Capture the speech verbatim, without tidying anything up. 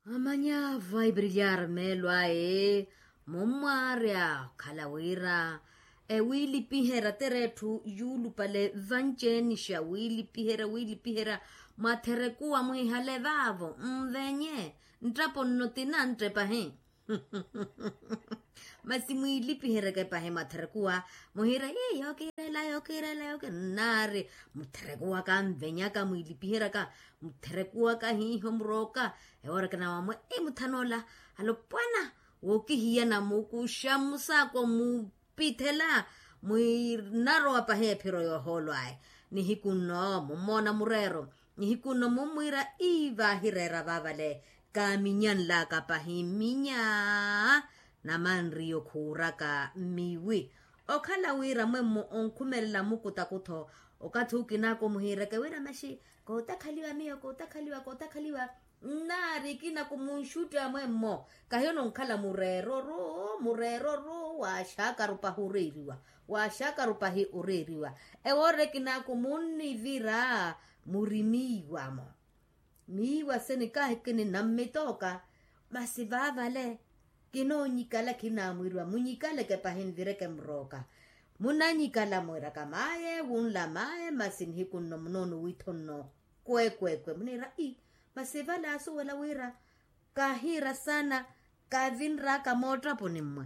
Amanya vaipirilyari meelo aye. Mummwarya okhala wira ewiilipiherya tere etthu yuulupale vanceenixa wiilipiherya wiilipiherya. Mwatherekuwa mwihale vaavo nvenye nttapo nno tinantte pahi. Masi mwiilipiheryeke pahi mwatherekuwa muhiira ii yookiirela yookiirela yookiirela nnaari. Mutherekuwaka nvenyaka mwiilipiheryaka mutherekuwaka hiiho murooka. Ewooreke nawamwe ii muthanoola alopwana wookihiyana mukuxa musaako mupithela. Mwinarowa pahi ephiro yoohoolwaya nihiku nno mummoona mureero nihiku nno mummwiira ii vaahireera vaavale. Kaaminyanlaka pahi mminya namanriyo khuuraka mmiwi. Okhala wira mwemmo onkhumelela mukutakutho okathi ukinaku muhiireke wira maxi kootakhaliwa miyo kootakhaliwa kootakhaliwa. Nnaari kinaku munxutti amwemmo kahiyo nonkhala mureero ru mureero ru waaxakaru pahi oreeriwa waaxakaru pahi oreeriwa. Ewoorere kinaku munnivira muri miiwamo miiwa seni kahi kininammitooka. Masi vaavale kinoonyikala khinamwiriwa munyikaleke pahi nvireke murooka. Munanyikala mwiraka maye wunla maye masi nihiku nno munoonuwitho nno kwekwekwe muniira ii masi vale asuwela wira kahiira saana kavinraka moottapuni mmwe.